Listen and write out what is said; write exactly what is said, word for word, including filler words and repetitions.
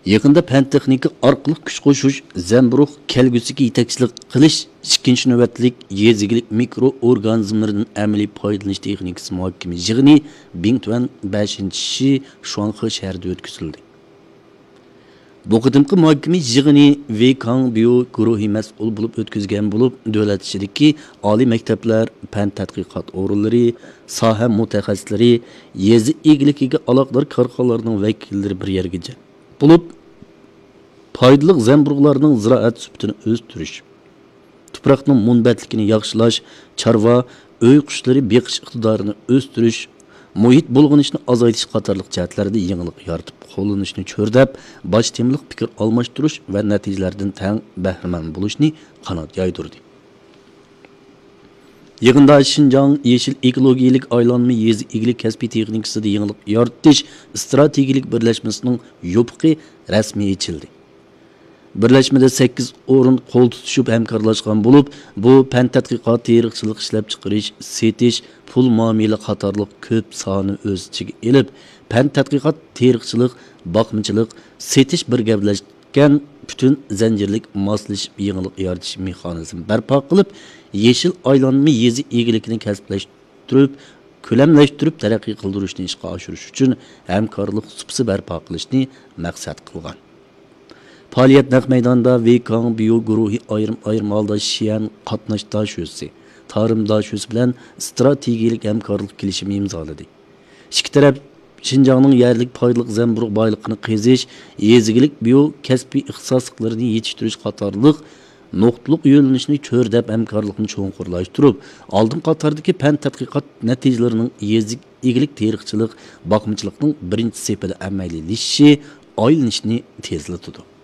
يېقىندا پەن تېخنىكا ئارقىلىق كۈچ قوشۇش، زەمبۇرۇغ كەلگۈسىگە يېتەكچىلىك قىلىش ئىككىنچى نۆۋەتلىك يېزا ئىگىلىك مىكرو ئورگانىزملىرىدىن ئەمەلىي پايدىلىنىش تېخنىكىسى مۇھاكىمە يىغىنى بىڭتۈەن بەشىنچى شى شۇاڭخې شەھىرىدە ئۆتكۈزۈلدى. بۇ قېتىمقى مۇھاكىمە يىغىنى ۋېي كاڭ بيۇ گۇرۇھى مەسئۇل بولۇپ ئۆتكۈزگەن بولۇپ، دۆلەت ئىچىدىكى ئالىي مەكتەپلەر، پەن تەتقىقات ئورۇنلىرى، ساھە مۇتەخەسسىسلىرى، يېزا ئىگىلىكىگە ئالاقىدار كارخانىلارنىڭ ۋەكىللىرى بىر يەرگە جەم بولۇپ، پايدىلىق زەمبۇرۇغلارنىڭ زىرائەت سۈپىتىنى ئۆستۈرۈش، تۇپراقنىڭ مۇنبەتلىكىنى ياخشىلاش، چارۋا، ئۆي قۇشلىرى بېقىش ئىقتىدارىنى ئۆستۈرۈش، مۇھىت بۇلغىنىشنى ئازايتىش قاتارلىق جەھەتلەردە يېڭىلىق يارىتىپ قوللىنىشنى چۆرىدەپ، باش تېمىلىق پىكىر ئالماشتۇرۇش ۋە نەتىجىلەردىن تەڭ بەھرىمەن بولۇشنى قانات يايدۇردى. يىغىندا شىنجاڭ يېشىل ئېكولوگىيەلىك ئايلانما يېزا ئىگىلىك كەسپىي تېخنىكىسىدا يېڭىلىق يارىتىش ئىستراتېگىيەلىك بىرلەشمىسىنىڭ يوپۇقى رەسمىي ئېچىلدى. بىرلەشمىدە سەككىز ئورۇن قول تۇتۇشۇپ ھەمكارلاشقان بولۇپ، بۇ پەن تەتقىقات، تېرىقچىلىق، ئىشلەپچىقىرىش، سېتىش، پۇل مۇئامىلە قاتارلىق كۆپ ساھەنى ئۆز ئىچىگە ئېلىپ، پەن تەتقىقات، تېرىقچىلىق، باقمىچىلىق، سېتىش بىر گەۋدىلەشكەن پۈتۈن زەنجىرلىك ماسلىشىپ يېڭىلىق يارىتىش مېخانىزمى بەرپا قىلىپ، يېشىل ئايلانما يېزا ئىگىلىكىنى كەسىپلەشتۈرۈپ، كۆلەملەشتۈرۈپ تەرەققىي قىلدۇرۇشنى ئىشقا ئاشۇرۇش ئۈچۈن ھەمكارلىق سۇپىسى بەرپا قىلىشنى مەقسەت قىلغان. پائالىيەت نەق مەيدانىدا ۋېي كاڭ بيۇ گۇرۇھى ئايرىم-ئايرىم ھالدا شيەن قاتناش داشۆسى، تارىم داشۆسى بىلەن ئىستراتېگىيەلىك ھەمكارلىق كېلىشىمى ئىمزالىدى. ئىككى تەرەپ شىنجاڭنىڭ يەرلىك پايدىلىق زەمبۇرۇغ بايلىقىنى قېزىش، يېزا ئىگىلىك بىيو كەسپىي ئىختىساسلىقلىرىنى يېتىشتۈرۈش قاتارلىق نۇقتىلىق يۆنىلىشنى چۆرىدەپ ھەمكارلىقنى چوڭقۇرلاشتۇرۇپ، ئالدىن قاتاردىكى پەن تەتقىقات نەتىجىلىرىنىڭ يېزا ئىگىلىك تېرىقچىلىق، باقمىچىلىقنىڭ بىرىنچى سېپىدە ئەمەلىيلىشىشى، ئايلىنىشىنى تېزلىتىدۇ.